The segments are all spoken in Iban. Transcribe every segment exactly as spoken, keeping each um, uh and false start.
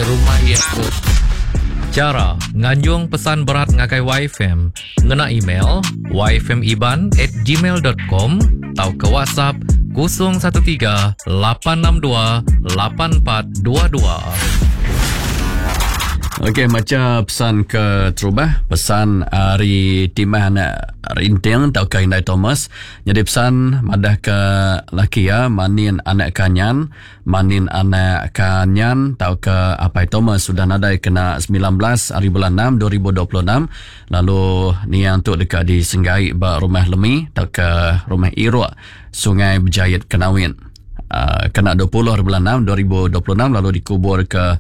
Rumah iya tu. Chara nganjung pesan berat ngagai Y F M ngena email yfmiban at gmail dot com tauka WhatsApp kosong satu tiga lapan enam dua lapan empat dua dua. Okey, macha pesan ke terubah, pesan ari Timah anak Rinting tauka Indai Thomas. Jadi pesan madah ke laki ya, Manin anak Kanyan, Manin anak Kanyan tauka Apai Thomas sudah nadai kena semilan belas hari bulan enam dua ribu dua puluh enam, lalu niang tu dekat di Senggai ba Rumah Lemi tauka Rumah Iruk, Sungai Bejayit, Kenawit. Uh, kena dua puluh hari bulan enam dua ribu dua puluh enam, lalu dikubur ke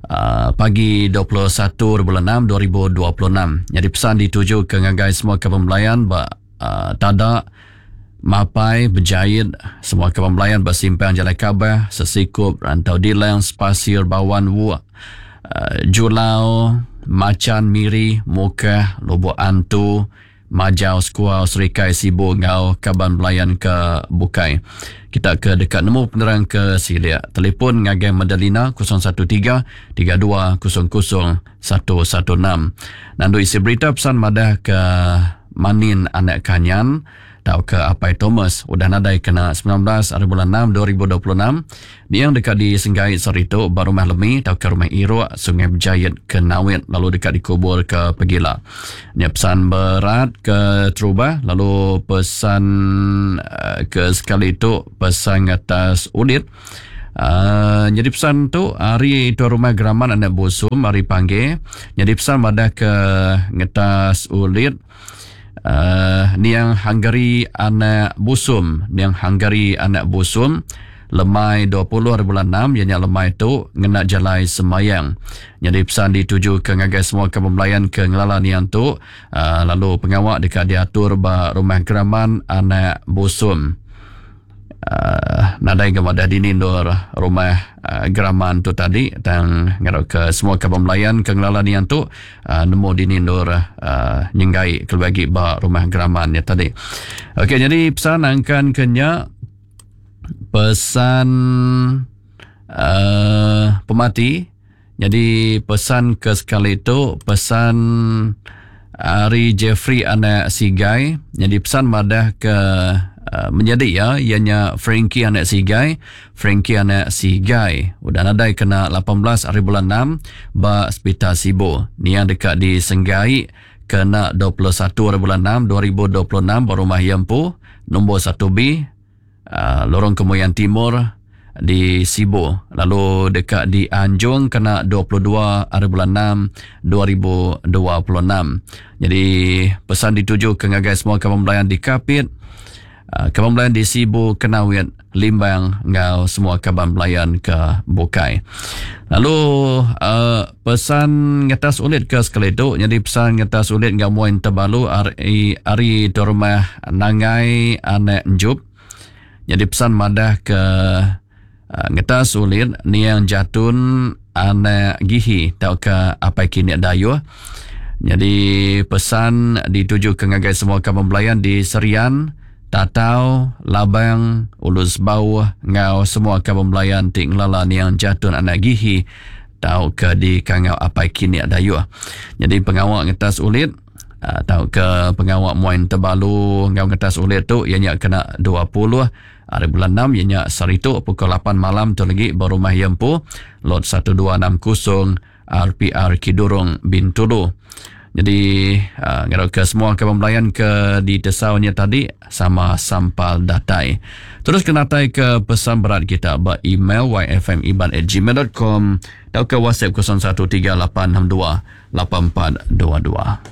Uh, pagi dua puluh satu bulan enam dua ribu dua puluh enam. Jadi pesan dituju ke ngagai semua kaban belayan ba uh, Tada, Mapai, Bejayit, semua kaban belayan ba Simpang Jalai Kabah, Sesikup, Rantau Dilang, Spasir, Bawan, Wuk, uh, Julau, Macan, Miri, Mukah, Lubuk Antu, Majau, Sekuau, Serikai, Sibu ngau kaban belayan ke bukai. Kita ke dekat nemu penerang ke silia. Telefon ngagai Madalina kosong satu tiga tiga dua kosong kosong satu satu enam. Nandu isi berita, pesan madah ke Manin anak Kanyan tauka Apai Thomas udah nadai kena semilan belas hari bulan enam dua ribu dua puluh enam. Niang dekat di Senggai Seritu ba Rumah Lemi tauka Rumah Iruk, Sungai Bejayit, Kenawit, lalu dekat dikubur ke Pegila. Ni pesan berat ke terubah, lalu pesan uh, ke sekali itu pesan atas ulit. Uh, jadi pesan tu hari tuan rumah Geraman anak Busum hari panggil. Jadi pesan madah ke ngetas ulit uh, niang Hungary anak Busum, niang Hungary anak Busum lemai dua puluh hari bulan enam, ianya lemai tu ngena jalai semayang. Jadi pesan dituju ke ngagai semua kaban belayan ke ngelala niang tu, uh, lalu pengawak dekat diatur ba Rumah Geraman anak Busum. Uh, nadai ke madah dini nur rumah uh, Geraman tu tadi, tang ngarap ke semua kaban belayan ke ngelala niang tu uh, nemu dini nur uh, nyenggai ke bagi ba Rumah Geraman ya tadi. Okey, jadi pesan angkan kenya pesan uh, pemati. Jadi pesan ke sekali itu pesan Ari Jeffrey anak Sigai. Jadi pesan madah ke uh, menjadi ya ianya Frankie anak Sigai, Frankie anak Sigai udah nadai kena lapan belas hari bulan enam ba Hospital Sibu. Ni yang dekat di Senggai kena dua puluh satu hari bulan enam dua ribu dua puluh enam ba Rumah Yempu nombor satu B, uh, Lorong Kemuyan Timur di Sibu, lalu dekat di Anjung kena dua puluh dua hari bulan enam dua ribu dua puluh enam. Jadi pesan dituju ke ngagai semua kaban belayan di Kapit, uh, kaban belayan di Sibu, Kenawit, Limbang ngau semua kaban belayan ke bukai. Lalu uh, pesan ngetas ulit ke sekali tu, jadi pesan ngetas ulit ngau muin terbalu ari ari rumah Nangai anak Njup. Jadi pesan madah ke uh, ngetas ulit niang Jatun anak Gihi tauka Apai Kini Dayuh. Jadi pesan dituju ke ngagai semua kaban belayan di Serian, Tatau, Labang, Ulus Bawah ngau semua kaban belayan ti ngelala niang Jatun anak Gihi tauka di Kangau Apai Kini Dayuh. Jadi pengawak ngetas ulit uh, tauka pengawak muin terbalu ngau ngetas ulit tu ianya kena dua puluh hari bulan enam, ianya saritu pukul lapan malam tu lagi ba Rumah Yempu lot seribu dua ratus enam puluh R P R Kidurong, Bintulu. Jadi uh, ngarap ke semua kaban belayan ke di tesaunya tadi sama sampal datai. Terus kena datai ke pesan berat kita ba email yfmiban at gmail dot com atau ke WhatsApp kosong satu tiga lapan enam dua lapan empat dua dua.